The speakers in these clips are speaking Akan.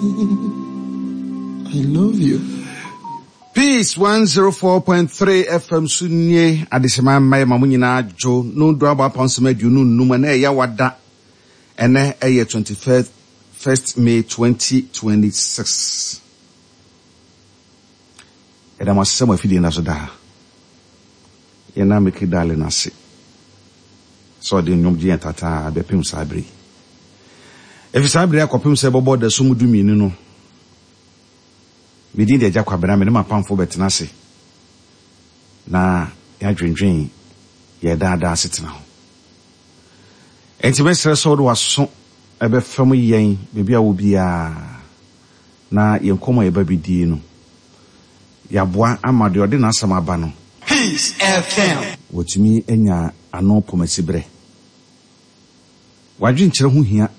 I love you. Peace 104.3 FM so nie adehyema mma yɛ ma mo nyinaa dwo no do abɔ apam sɛm 25 ɛnɛ ɛyɛ wada ɛnɛ ɛyɛ 21st 1st May 2026 ɛda mo ase sɛ mo afidie nda so daa yɛn na meke darling ase sɛ ɔde nnwom gye yɛn tataa bɛpem saa bere yi. Efi saa bere yi akɔpem sɛ ɛbɛbɔ ɔdasum dumienu no, me din de Agya Kwabena, me ne m'apamfo bɛtena ase na yɛadwendwen yɛn daa daa asetena ho. Enti mɛsrɛ sɛ wode w'aso bɛfam yɛn baabi a wɔ biara na yɛn nkɔmmɔ a yɛba bɛdie no, yɛaboa ama deɛ ɔde n'asɛm aba no, Peace FM. watumi anya ano pomasiberɛ. W'adwenkyerɛ ho hia.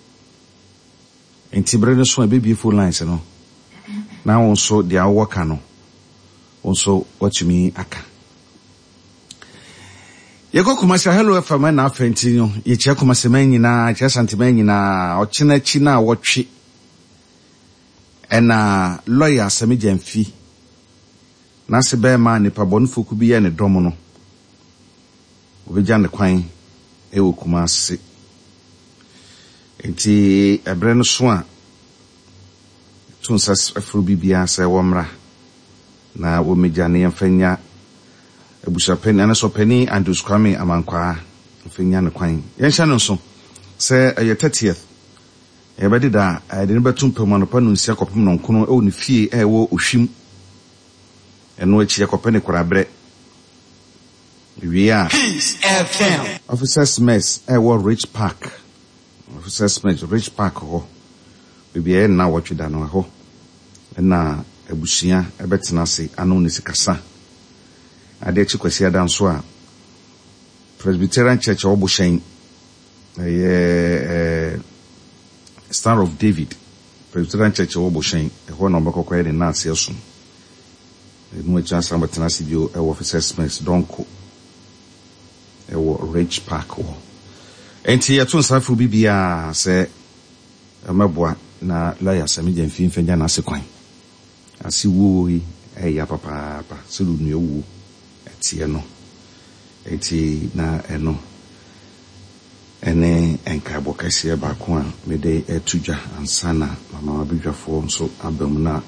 Enti bere no so a ɛbɛbue phone lines no, na wo nso deɛ wowɔ ka no, wo nso woatumi aka. Yɛkɔ Kumasi a, Hello FM ɛna afɛ nti no, yɛkyia Kumasi man nyinaa, yɛkyia Asante man nyinaa, ɔkyena akyi na awɔtwe ɛna lɔya Sami Gyamfi n'ase bɛrima a nipa bɔnefoɔ kuo bi yɛ ne dɔm no, Wɔbɛgya no kwan wɔ Kumasi. Enti ɛberɛ no so a, to nsa frɛ obi biara sɛ wɔmmra na wɔmmɛgya no yɛmfa nnya abusuapanin anaasɛ ɔpanin Andrews Kwame Amankwaa mfa nnya no kwan. Yɛnhyɛ no nso sɛ ɛyɛ 30th yɛbɛdeda a yɛde no bɛto mpa mu anɔpa nnɔnsia kɔpem nnɔnkono wɔ ne fie a ɛwɔ Ohwim. Ɛno akyi yɛkɔpɛ ne koraberɛ. Wie a, Peace FM. Officers Mess a ɛwɔ Ridge Park, Officers Mess, Ridge Park hɔ, baabi a ɛyɛ nnawɔtwe da no, ɛhɔ na abusua bɛtena ase ano ne sikasa. Adeɛ kye Kwasiada nso a, Presbyterian Church a ɛwɔ Bohyɛn, ɛyɛ eh, Star of David Presbyterian Church a ɛwɔ Bohyɛn, ɛhɔ na wɔbɛkɔ kɔyɛ ne nnaaseɛ som. Ɛno akyi asan bɛtena ase bio wɔ Officers Mess Donko wɔ Ridge Park hɔ. Enti yɛto nsa frɛ obi biara sɛ ɔmmɛboa na lɔya Sammy Gyamfi mfa nya n'ase kwan. Ase wuo yi ɛyɛ ya papaapa sɛdeɛ onua wuo teɛ no. Enti na ɛno ɛne nkaebɔ kɛseɛ baako a mede reto dwa ansa na mama m'abadwafoɔ nso aba mu na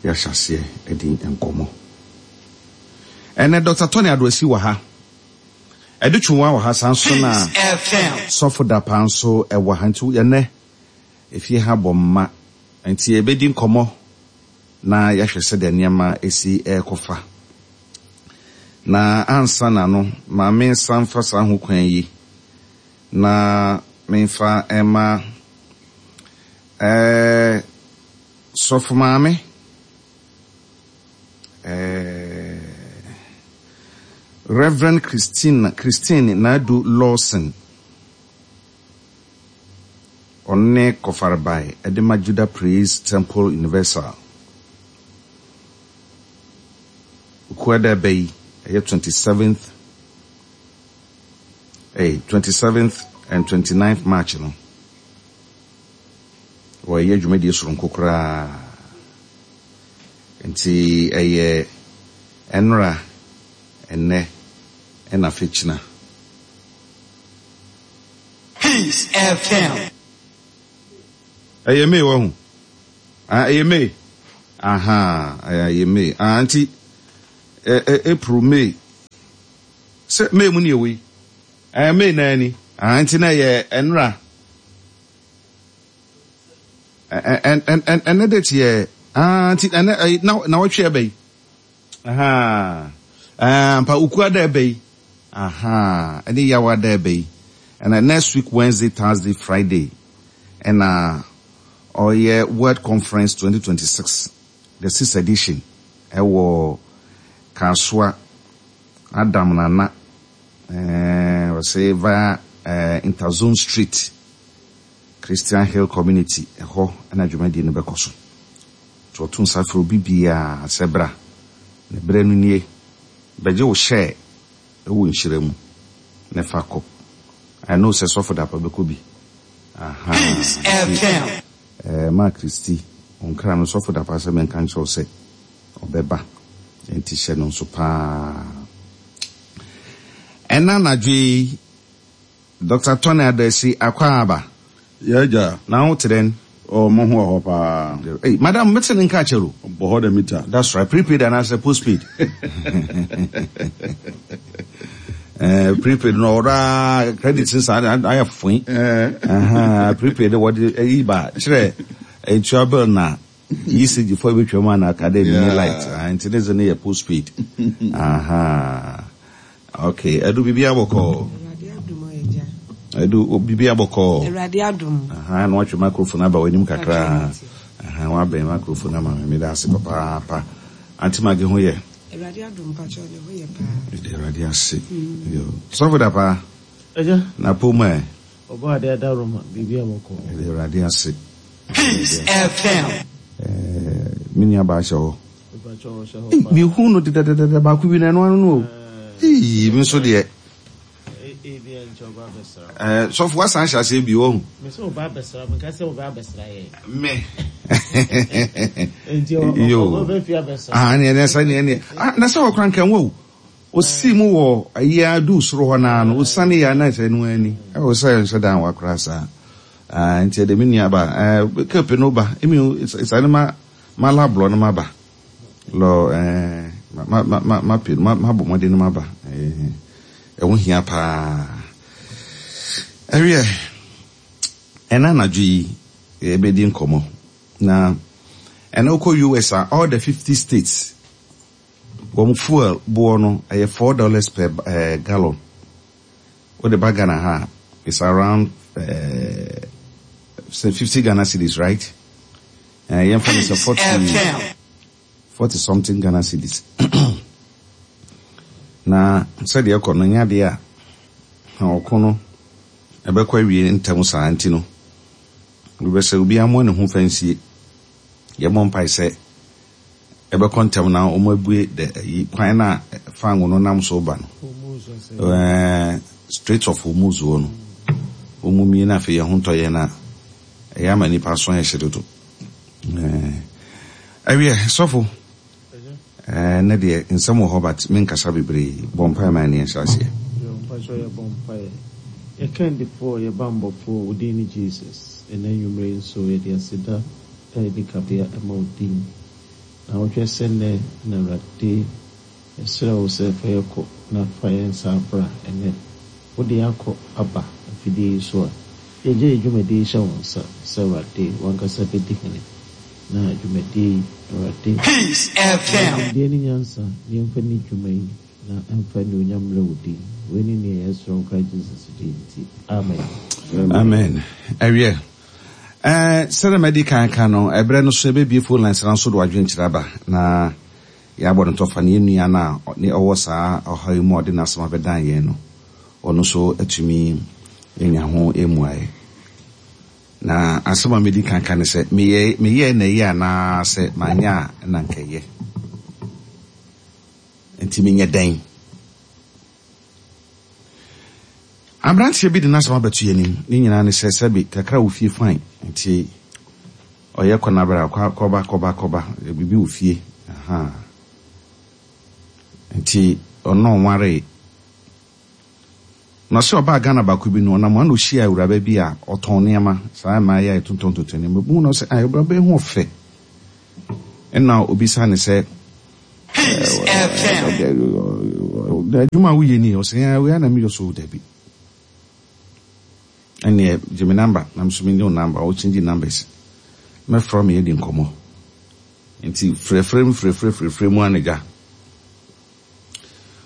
yɛahyɛ aseɛ adi nkɔmmɔ. Ɛnnɛ Dɔkta Tony Adoasi wɔ ha, Adu Twumwa wɔ ha, saa nso na Sɔfo Dapaah nso wɔ ha. Nti ɛnnɛ efie ha bɔ mma, nti yɛbɛdi nkɔmmɔ na yɛahwɛ sɛdeɛ nneɛma si rekɔfa. Na ansa na no, ma mensan mfa saa hokwan yi na memfa mma ɛɛ. Sɔfo Maame, eh, Rev. Christina, Christine Naadu Lawson, ɔno ne kɔfarebae de ma Judah Praise Temple Universal. Okuada ɛbɛ yi, ɛyɛ 27th, eh, 27th and 29th March no. Wɔyɛ dwumadie soronko koraa. Nti ɛyɛ ɛnora, ɛnnɛ, ɛna afekyina. Peace FM. Ɛyɛ May wahu. Ah, ɛyɛ May. Aha, ɛyɛ May. Ah, nti ɛ ɛ April, May. Sɛ May mu ne ɛwɔ yi. Ɛɛ May naa ni. Ah, nti na ɛyɛ ɛnora. Ɛnɛ date yɛ ah nti ɛnɛ ɛyi na na wɔtwe ɛbɛ yi ahaa ɛɛ mpa ukua da ɛbɛ yi ahaa ɛne yawa da ɛbɛ yi ɛna next week Wednesday Thursday Friday ɛna ɔyɛ World Conference 2026 the sixth edition ɛwɔ Kasoa Adam Nana ɛɛ ɔsɛ via ɛɛ Interzone Street. Christian Hill Community, ɛhɔ na dwumadie no bɛkɔ so. Nti wɔto nsa frɛ obi biara sɛ bra, na berɛ no nie, bɛgye wo hyɛɛ wɔ nhyira mu na fa kɔ. I know sɛ Sɔfo Dapaah bɛkɔ bi. Ahaa, Peace nti FM. eh, Maa Christy. Wo nkra no, Sɔfo Dapaah sɛ menka nkyerɛ wo sɛ ɔbɛba. Enti hyɛ no nso paa. Ɛnnɛ anadwo yi, Doctor Tony Adasi Akwaaba. Y'agya. Na wo te dɛn? Oh, mo ho wɔ hɔ paa. Hey, madam, mete ne nka akyɛr o. Bɔ hɔ dɛ mita. That's right. Prepaid anaasɛ postpaid? Eh, prepaid no ɔwɔ credit nsa ayɛ foe. Eh. Prepaid wɔde ayi ba kyerɛ ntua bill na ECG fo ebetwa mu ana aka dɛ mini light. Ah, nti ne dze no yɛ postpaid. Aha. Okay, Adu biribi abɔkɔɔ. Adu biribi abɔkɔɔ. Awurade adom. Aha, na watwe microphone aba w'anim kakra. Aha, wabɛn microphone ama me. Meda ase papaapa. Auntie Maggie ho yɛ? Awurade adom mpakyɛw ne ho yɛ paa. Meda Awurade ase. Yo. Sɔfo da paa. Agya. Na pom ɛ. Ɔbɔ ade ada Roma biribi abɔkɔɔ. Meda Awurade ase. Peace FM. Eh, me nua baa hyɛ hɔ. Ei, mehu no dedadadada baako bi na ɛno ano no o. Ei, me nso deɛ. Eh, sɔfo wasan hyɛ aseɛ bio wahu. Me. Yo. Ah, ne ne sɛ ne ne. Ah, na sɛ wɔkora nka nwa o. Osi mu wɔ ayi adu soro hɔ naa no, osane ya na sɛ no ani. Ɛwɔ sɛ nhyɛ dan wakora saa. Ah, nti ɛde me nua ba. Eh, kepe no ba. Emi sane ma Ma la blɔ no maba lɔ eh, ma ma ma ma pe ma ma bɔ mmɔden no maba eh, ɛho hia paa. Ɛwiɛ, ɛna anadwo yi yɛbɛdi nkɔmmɔ na ɛna wokɔ US a all the 50 states wɔn fuel boɔ no ɛyɛ $4 per eh, gallon. Wode ba Ghana ha a it's around eh, 50 Ghana cedis, right? Eh, yɛmfa no sɛ 40, 40 something Ghana cedis. Na sɛdeɛ ɛkɔ no, nyɛ adeɛ a ɔko no ɛbɛkɔ awie ntɛm saa nti no, wobɛ sɛ obiara mmoa ne ho fa nsie. Yɛmmɔ mpae sɛ ɛbɛkɔ ntɛm na wɔn abue the ayi kwan no a fango no nam so ba no. Eh, Strait of Hormuz hɔ no, wɔn mmue na afei yɛn ho ntɔ yɛn a Ɛyɛ ama nnipa aso ayɛ hye dodo. Ɛwiɛ, sɔfo, ɛnɛ deɛ nsɛm wɔ hɔ but menkasa bebree. Bɔ mpaeɛ ma yɛne yɛnhyɛ aseɛ. Yo, mpakyɛw yɛbɔ mpaeɛ. Yɛ kandifoɔ, yɛ banbɔfoɔ, wo din ne Jesus. Ɛnɛ anwummerɛ yi nso yɛde aseda a ɛnni kabea ma wo din. Na wohwɛ sɛ nnɛ na Awurade Yɛsrɛ wo sɛ fa yɛn kɔ na fa yɛn san bra ɛnnɛ. Wode yɛn akɔ aba afidie yi so a, yɛgye yɛn dwumadie yi hyɛ wo nsa sɛ Awurade w'ankasa bɛdi hene. Na dwumadie yi, Awurade, Peace ma yɛn FM. nimdeɛ ne nyansa na yɛmfa nni dwuma yi na ɛmfa anuonyam mmrɛ wo din. Wei ne nea yɛsrɛ wo Christ Jesus din nti, amen. Amen. Ɛwiɛ. Ɛɛ, sɛdeɛ madi kan aka no, ɛberɛ no so yɛbɛbue phone lines no nso de w'adwenkyerɛ aba na Yɛabɔ no tɔfa na yɛn nua no a ɔne ɔwɔ saa ɔhaw yi mu a ɔde n'asɛm abɛdan yɛn no, ɔno nso atumi anya ho mmuaeɛ. Na asɛm a medi kan ka ne sɛ, meyɛ meyɛɛ na ɛyɛ anaasɛ manyɛ a na anka ɛyɛ. Nti menyɛ dɛn? Aberanteɛ bi de n'asɛm abɛto yɛn anim. Ne nyinaa ne sɛ, sɛbe kakra wɔ fie fine, nti Ɔyɛ kɔ na bra, kɔ kɔba kɔba kɔba, biribi wɔ fie, ahaa. Nti ɔno ɔnwaree. Na ɔsɛ ɔbaa Ghana baako bi no, ɔnam hɔ na ɔhyiaa awuraba bi a ɔtɔn nneɛma, saa mmaa yi a yɛtontɔn tontɔn nneɛma. Ɔbɛhu no ɔsɛ, ah, awuraba yi ho ɔfɛ. Ɛna ɔbisaa no sɛ, Peace FM. adwuma a woyɛ ni? Ɔsɛ, ɛɛ, wei ara na meyɛ. Ɔsɛ, oh, dabi. Ɛnneɛ gye me number na me nso menye wo number, wo change numbers. Mɛfrɛ wo ma yɛadi nkɔmmɔ. Nti frɛfrɛ mu frɛfrɛ frɛfrɛ mu ara na gya.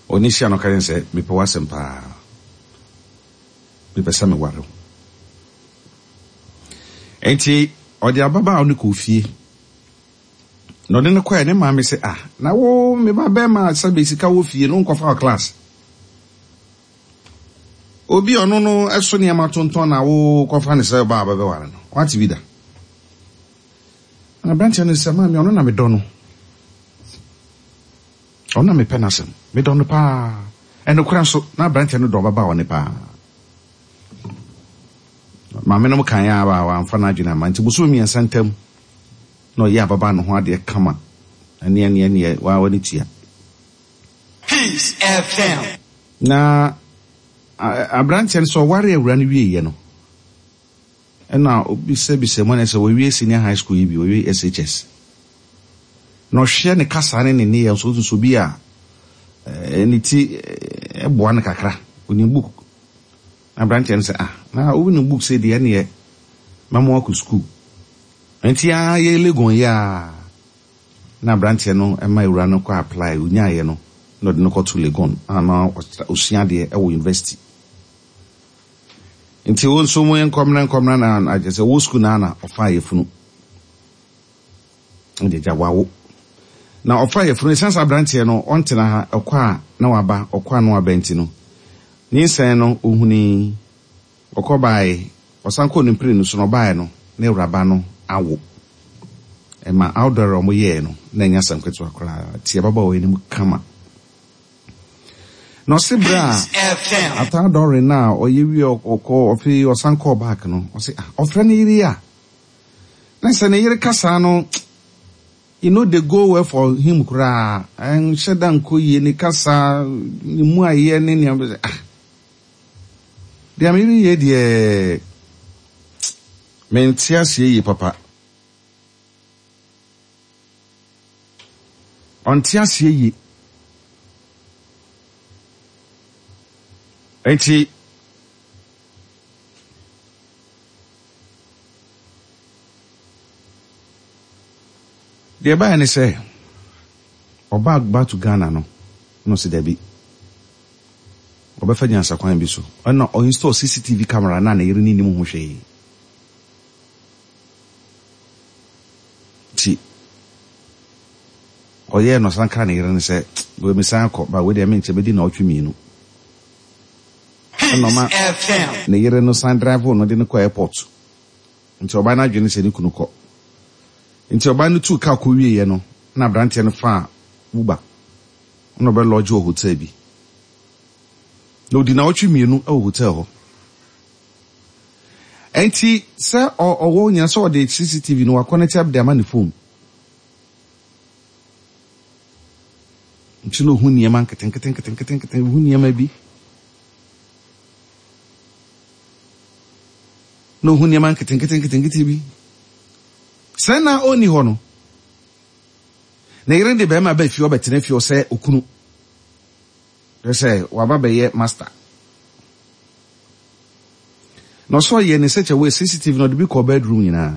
Ɔne hyia no ɔka kyerɛ no sɛ mepɛ w'asɛm paa. Mepɛ sɛ meware wo. Nti ɔde ababaawa no kɔɔ fie. Na ɔde no kɔɛ ne maame sɛ ah na wo me ba bɛrima sɛbe sika wɔ fie no wonkɔfa wɔ class. Obi a ɔno no so nneɛma tontɔn na wokɔfa no sɛ ɔbaa a bɛbɛware no, wate bi da? Na aberanteɛ no sɛ, maame, ɔno na medɔ no. Ɔno na mepɛ n'asɛm. Medɔ no paa. Ɛnokorɛ nso, na aberanteɛ no dɔ ɔbabaawa no paa. Maame nom kan a wamfa n'adwene amma nti bosome mmiɛnsa ntam. Na ɔyɛ ababaa no ho adeɛ kama. Ɛneɛ neɛ neɛ waa w'ani tua. Peace FM. Na aberanteɛ no sɛ ɔware awura no wieɛ no, ɛna obisabisa mu ɛna sɛ wawie senior high school yi bi, wawie SHS. Na ɔhwɛ ne kasa ne ne nneyɛɛ nso, wohu sɛ obi a ne ti boa no kakra, onim book. Na aberanteɛ no sɛ, ah, na wonim book sɛ deɛ ɛneɛ mɛma wakɔ school. Nti ara yɛ Legon yi ara na aberanteɛ no ma awura no kɔ apply, ɔnyaeɛ no na ɔde no kɔto Legon a na ɔsua adeɛ wɔ university. Nti wo nso mo nkɔmena nkɔmena na akyɛ sɛ wo school na na ɔfaa yɛfunu. Ɛde gya wawo. Na ɔfaa yɛfunu, ɛsiane sɛ aberanteɛ no ɔntena ha, ɔkɔ a na waba, ɔkɔ a na waba nti no, nyinsɛn no ɔhunii. Ɔkɔ bae, ɔsan kɔɔ ne mprenu so na ɔbae no, na awuraba no awo. Ɛma outdoor a wɔyɛe no, na ɛnyɛ asɛm ketewa koraa. Te ababaawa yi anim kama. Na ɔse bere a after outdooring no a ɔyɛ wie ɔkɔ ɔfe ɔsan kɔɔ back no, ɔse ah, ɔfrɛ ne yere a, na sɛ ne yere kasa no, e no dey go well for him koraa, ɛnhyɛ da nkɔ yie, ne kasa, ne mu ayɛ ne nea, ah. Deɛ mereyɛ deɛ mente aseɛ yie papa. Ɔnte aseɛ yie. Enti deɛ ɛbaeɛ ne sɛ ɔbaa back to Ghana no na ɔsi dabi. Ɔbɛfa nyansakwan bi so. Ɛna ɔ install CCTV camera na ne yere no nnim ho hwee. Nti ɔyɛɛ no ɔsan kaa ne yere no sɛ, wei mesan akɔ, ba wei deɛ menkyɛ mɛdi naawɔtwe mmienu. Ɛna ɔma ne yere no san drive no de no kɔ airport. Nti ɔbaa no adwene sɛ ne kunu kɔ. Nti ɔbaa no tuu kaa kɔ wieɛ no, na aberanteɛ no faa Uber. na ɔbɛ lodge wɔ hotel bi. Na odi naawɔtwe mmienu wɔ hotel hɔ. Ɛnti sɛ ɔwɔ nyina sɛ ɔde CCTV no wakɔnɛte de ama ne phone. Nti na ohu nneɛma nketenketenketenkete, ohu nneɛma bi. Na ohu nneɛma nketenketenketenkete bi. Sɛ na ɔnni hɔ no, Ne yere de barima ba fie ɔbɛtena fie ɔsɛ okunu. Kyerɛ sɛ waba bɛyɛ master. Na ɔsɛ ɔyɛ ne such a way CCTV na ɔde bi kɔ bedroom nyinaa.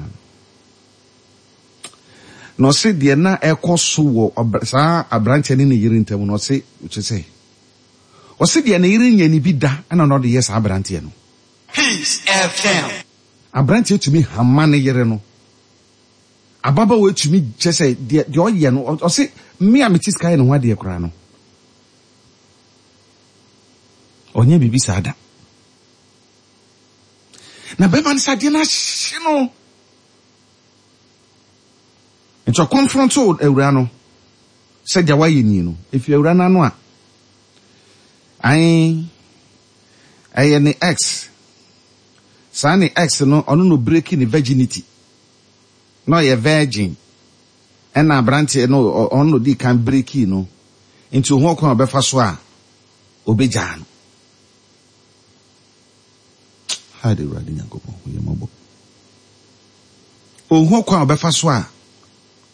Na ɔse deɛ na ɛkɔ so wɔ saa aberanteɛ ne ne yere ntam no ɔse kyerɛ sɛ ɔse deɛ ne yere nyɛ ne bi da ɛna na ɔde yɛ saa aberanteɛ no. Peace FM. Aberanteɛ tumi hama ne yere no. Ababaawa yi tumi kyerɛ sɛ deɛ deɛ ɔyɛ no ɔse me a mete sika yɛ ne ho adeɛ koraa no ɔnyɛ biribi saa da. Na bɛrima no sɛ adeɛ no ahye no nti ɔkɔnfrɔnto awura no sɛ deɛ wayɛ nie no efi awura no ano a ae ɛyɛ ne ex saa ne ex no ɔno no breaki ne virginity. Na ɔyɛ virgin ɛna abranteɛ no ɔno na ɔdii kan brekii no nti ohun ɔkwan a ɔbɛfa so a ɔbɛgyaa no. Hide Awurade Nyankopɔn hu yɛn mmɔbɔ. Ohun ɔkwan a ɔbɛfa so a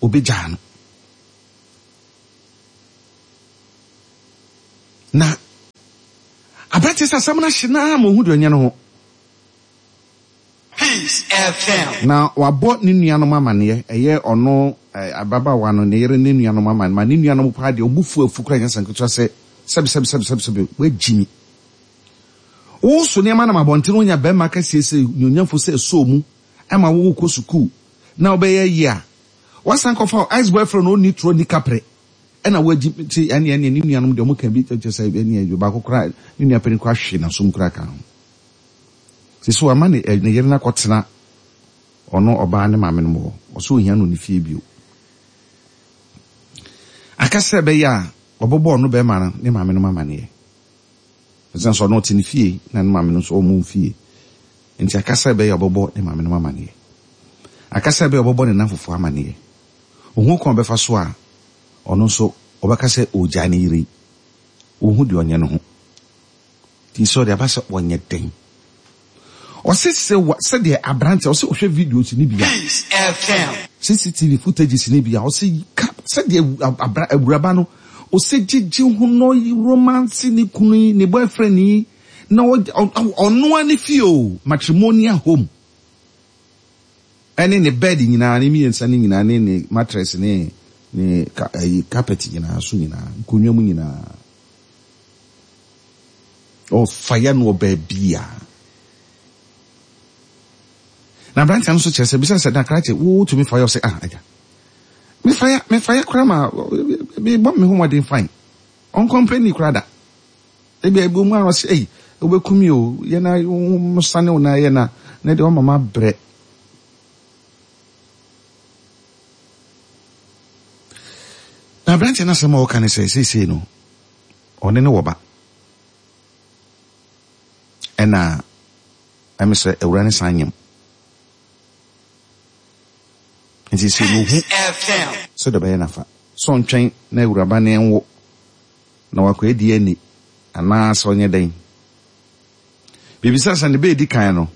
ɔbɛgyaa no. Na abranteɛ sɛ asɛm no ahye no ara ma ohun deɛ ɔnyɛ no ho. Peace FM. Na wabɔ ne nuanom amaneɛ, ɛyɛ ɔno ababaawa no, ne yere ne nuanom amaneɛ, ma ne nuanom paa deɛ, ɔbo fu afu koraa nyɛ asɛm ketewa sɛ, sɛbe, sɛbe, sɛbe, sɛbe, sɛbe, woagyi me. Woso nneɛma nam abɔnten wonya barima kɛseɛ sɛ nuonyamfo sɛ ɛsɔɔ mu ma wo wokɔ sukuu na wobɛyɛ yie a, woasan kɔfa wo ex boyfriend a ɔnni torɔ nni kaprɛ ɛna woagyi nti ɛneɛ ɛneɛ ne nuanom deɛ wɔka bi kyerɛ sɛ ɛneɛ baako koraa ne nua panin koraa hwe n'asom koraa ka ho. Sese wama ne ne yere no akɔtena ɔno ɔbaa ne maame nom hɔ. Ɔsɛ ohia no ne fie bio. Aka sɛ ɛbɛyɛ a ɔbɛbɔ ɔno bɛrima no ne maame nom amaneɛ. Ɛsiane sɛ ɔno ɔte ne fie na ne maame no nso ɔmo fie. Nti aka sɛ ɛbɛyɛ a ɔbɛbɔ ne maame nom amaneɛ. Aka sɛ ɛbɛyɛ a ɔbɛbɔ ne namfofoɔ amaneɛ. Ɔhu kwan a ɔbɛfa so a ɔno nso ɔbɛka sɛ ɔregyae ne yere yi. Ɔnhu deɛ ɔnyɛ ne ho. Nti sɛ ɔde aba sɛ ɔnyɛ dɛn? Ɔse sɛ wa sɛdeɛ aberanteɛ ɔse ɔhwɛ videos no bi a. Peace FM. CCTV footages no bi a ɔse ka sɛdeɛ abra awuraba no ɔse gyegye ho na romance ne kunu yi ne boyfriend yi na ɔno ara ne fie o matrimonial home ɛne ne bed nyinaa ne mmiɛnsa ne nyinaa ne ne mattress ne ne ka ɛyi carpet nyinaa so nyinaa nkonnwa mu nyinaa. Ɔfa no wɔ baabiara. Na aberanteɛ no nso kyerɛ sɛ bisa sɛ na krakye wotumi fa yɛ ɔsɛ ah agya mefa ya mefa ya koraa ma mebɔ me ho mmɔden fine ɔnkɔmpleni koraa da ebi ebi mu a ɔsɛ ei wobɛku mi o yɛ na sane wo na yɛ na na deɛ ɔma ma brɛ na aberanteɛ no asɛm a ɔka ne sɛ seesei no Ɔne no wɔ ba. Ɛna ɛme sɛ awura no san nyem. Nti sɛ ohu sɛdeɛ ɔbɛyɛ no afa. Sɛ ɔntwɛn na awuraba no nwo na wakɔyɛ DNA anaa sɛ ɔnyɛ dɛn. Bibisa sɛ ne ba edi kan no,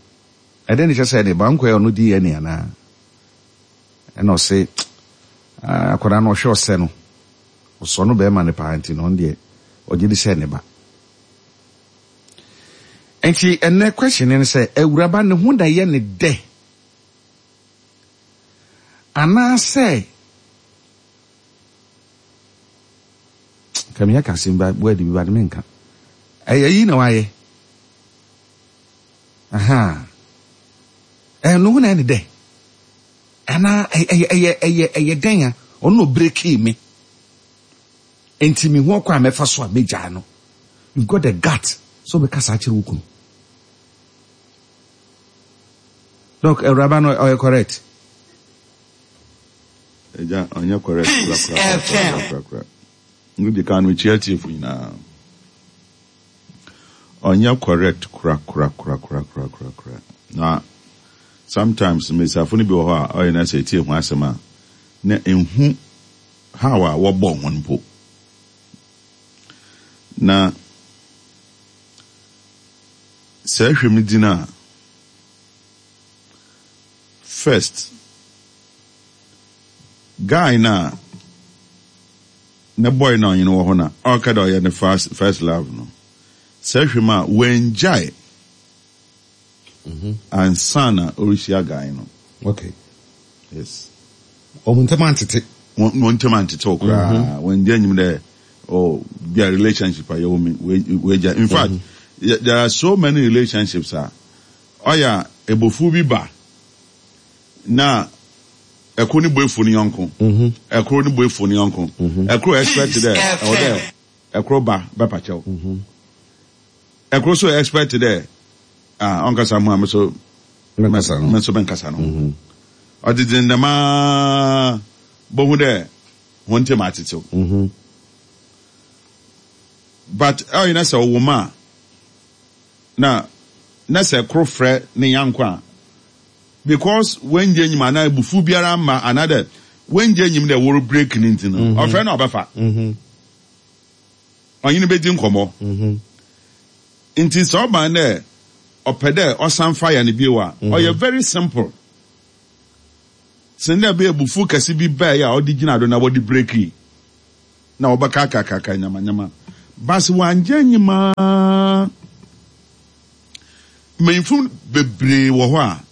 ɛdɛn na ɛkyerɛ sɛ ne ba nkɔyɛ ɔno DNA anaa? Ɛna ɔse akwadaa no ɔhwɛ ɔsɛ no. Ɔsɔ no bɛɛma no paa nti no ɔno deɛ ɔgye di sɛ ne ba. Nti ɛnɛ question no ne sɛ awuraba ne ho na ɛyɛ ne dɛ anaasɛ nka meyɛ ka asɛm ba word bi ba de menka ɛyɛ yi na wayɛ aha ɛno ho na ɛyɛ ne dɛ Anaa ɛyɛ ɛyɛ ɛyɛ ɛyɛ dɛn a ɔno na ɔbrekii me nti mehu ɔkwan a mɛfa so a mɛgyaa no. You've got the gut sɛ wobɛka saa akyerɛ wo kunu. Doc, awuraba no ɔyɛ correct? Agya, ɔnyɛ correct korakorakorakorakorakora. Wodi kan no mekyia atiefo nyinaa. Ɔnnyɛ correct korakorakorakorakorakora. Na sometimes mbasiafo no bi wɔ hɔ a ɔyɛ na sɛ etsie hɔn asɛm a na nnhu how a wɔbɔɔ hɔn mpo. Na sɛ ehwɛ me dzin a, first guy no a Ne boy no a ɔnye no wɔ hɔ na ɔreka dɛ ɔyɛ ne first first love no, sɛ ehwɛ mu a oenngyae ansaana orihyia guy no. Okay. Yes. Wɔn ntam antete. Wɔn ntam antetew koraa. Wɔnngye nnyim dɛ oh bi a relationship a yɛwɔ mu yi oegyae. In fact, there are so many relationships a ɔyɛ a ebufuw bi ba na Ɛkor no bo efuw ne nyɔnko, ɛkor no bo efuw ne nyɔnko, ɛkor expect dɛ ɔwɔ dɛ ɛkor ba bɛpa kyɛw, ɛkor so expect dɛ ah ɔnnkasa mo ho a me so me so mennkasa no ho. Ɔdze dzen dɛm ara bohu dɛ hɔn ntamu atsetsew. But ɔyɛ na sɛ ɔwɔ mu a na na sɛ kor frɛ ne nyɛnko a Because oenngye enyim anaa ebufuw biara ammba anaadɛ oenngye enyim dɛ woro break no ntsi no, ɔfrɛ no a ɔbɛfa. Ɔnye no bedzi nkɔmbɔ. Ntsi sɛ ɔba no dɛ ɔpɛ dɛ ɔsan fire no bio a, ɔyɛ very simple sen dɛ ebɛyɛ ebufuw kɛse bi bae a ɔdze gyina do na wɔdze breakii na wɔbɛkaakaakaaka nyamanyama. But sɛ ɔanngye enyim a, Mbanyimfo beberee wɔ hɔ a,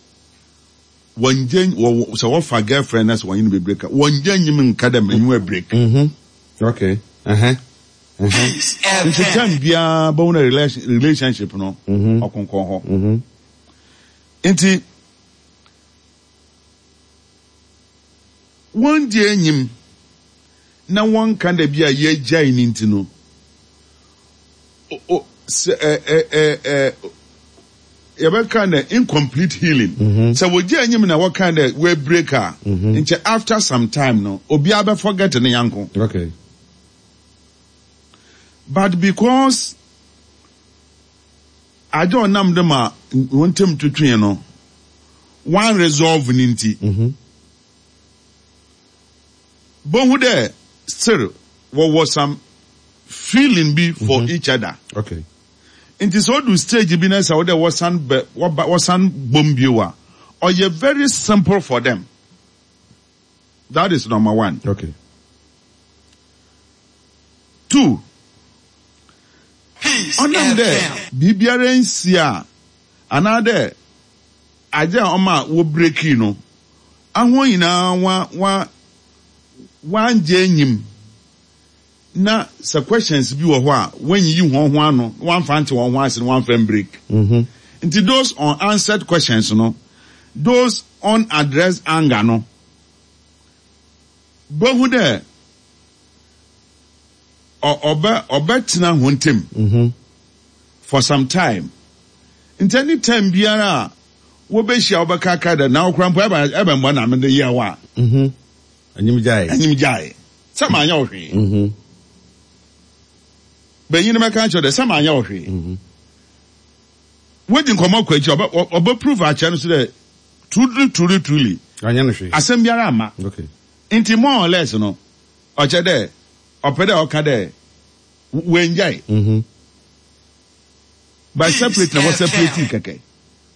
wɔnngye wɔ sɛ wɔfa girlfriend na sɛ wɔnye no bɛ break a, wɔnngye nnyim nnka dɛ menye wo break. Mm-hmm. Okay. Uh-huh. Uh-huh. Ntsi time biara bohu dɛ relationship no ɔkonkɔn hɔ. Mm-hmm. Ntsi wɔnngye enyim na wɔnnka dɛ bi a yegyae no ntsi no, o sɛ ɛ ɛ ɛ ɛ yɛbɛka dɛ incomplete healing. Sɛ wogye enyim na wɔka dɛ we break a, nkyɛ after some time no, obiara bɛ forget ne nyɛnko. Okay. But because adze a ɔnam do ma hɔn ntamu twetwee no, wɔan resolve no ntsi. Bohu dɛ still wɔwɔ some feeling bi for each other. Okay. Ntsi sɛ odu stage bi na sɛ ɔwɔ dɛ wɔsan bɛ wɔba wɔsan bɔ mu bio a, ɔyɛ very simple for them. That is number one. Okay. Two, Peace ɔnam dɛ FM. biribiara nnsi a anaadɛ adze a ɔma wobreakii no, ahɔn nyina wa wa wɔanngye enyim na sɛ questions bi wɔ hɔ a woennyiyi hɔnho ano na wɔammfa anntse hɔnho ase na wɔammfa mmbreak. Ntsi those unanswered questions no, those unaddressed anger no, bohu dɛ ɔbɛ ɔbɛtsena hɔn ntamu for some time. Ntsi any time biara a wobehyia a wɔbɛkaakae dɛ na wo koraa mpo ebɛn bɔn na medze yɛɛ wo a, Enyim gyae. Enyim gyae. Sɛ mannyɛ wo hwee. Banyin no bɛka akyerɛ wo dɛ sɛ mannyɛ wo hwee. Wodzi nkɔmbɔ kɔ ekyir a, ɔbɛ ɔbɛ prove akyerɛ no so dɛ truly truly truly Ɔnnyɛ no hwee. asɛm biara amma. Okay. Ntsi more or less no, ɔkyerɛ dɛ ɔpɛ dɛ ɔka dɛ oenngyae. By Peace separate na wɔ separate FM. kɛkɛ.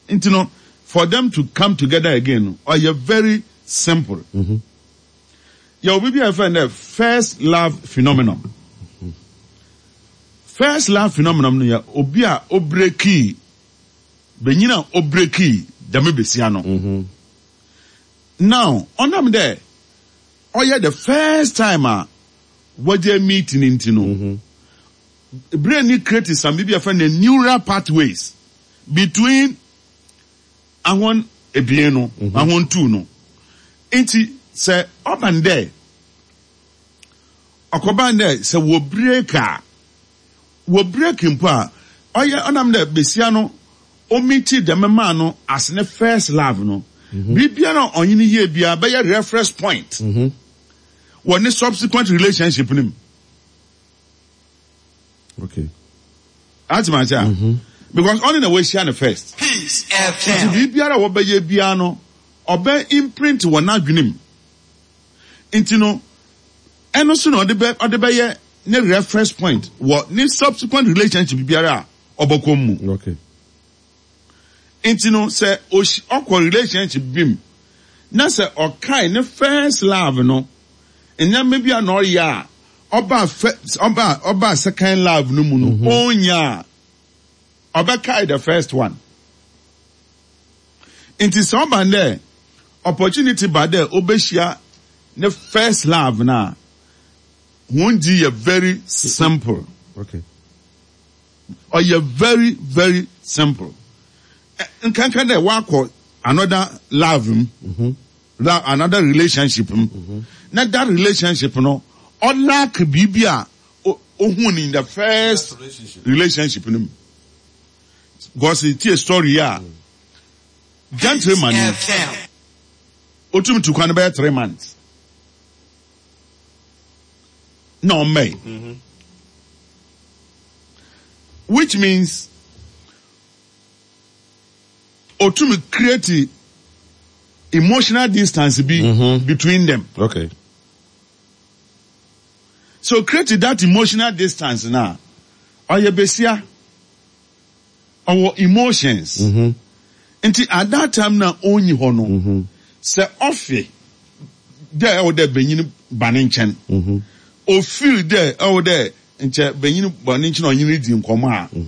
Nti no for them to come together again no ɔyɛ very simple. Yɛwɔ biribi a yɛfrɛ no dɛ first love phenomenon. First love phenomenon no yɛ obi a obrekii benyin a obrekii dɛm besia no. Now ɔnam dɛ ɔyɛ the first time a wɔgye meet no nti no, brain no create some biribi a yɛfrɛ no neural pathways between ahɔn ebien no, ahɔn two no. Ntsi sɛ ɔba no dɛ, ɔkɔba no dɛ sɛ wɔ break a, wɔ break mpo a, ɔyɛ ɔnam dɛ basia no omeetii dɛm man no as ne first love no, biribiara a ɔnye no yɛɛ biara bɛyɛ reference point wɔ ne subsequent relationship no mu. Okay. Ate ma ase a? Mm-hmm. Because ɔne na wɔahyia no first. Peace Nti FM. biribiara a wɔbɛyɛ biara no, ɔbɛ imprint wɔ n'adwene mu. Nti no, ɛno so na ɔde bɛ ɔde bɛyɛ ne reference point wɔ ne subsequent relationship biara a ɔbɛkɔ mu. Okay. Nti no, sɛ ɔkɔ relationship bi mu na sɛ ɔkae ne first love no, nneɛma bi a na ɔyɛ a ɔbaa fɛ ɔbaa ɔbaa second love no mu no ɔnnya a, ɔbɛkae the first one. Nti sɛ ɔba no dɛ opportunity ba dɛ obehyia ne first love no a, hɔn dzi yɛ very simple. Okay. Ɔyɛ very very simple. Nkanka dɛ ɔakɔ another love mu, la another relationship mu, na that relationship no ɔlack biribi a ohun in the first relationship no mu. Because itsie story yi a, Peace gentleman yi, FM. otum tu kwan bɛyɛ 3 months na ɔmmɛe. Which means otum create emotional distance bi between them. So create that emotional distance na ɔyɛ besia ɔwɔ emotions. Nti at that time na onnyi hɔ no, sɛ ɔfe dɛ ɛwɔ dɛ benyin ba ne nkyɛn, ofeel dɛ ɛwɔ dɛ nkyɛ benyin ba ne nkyɛn a ɔnye no dzi nkɔmbɔ a.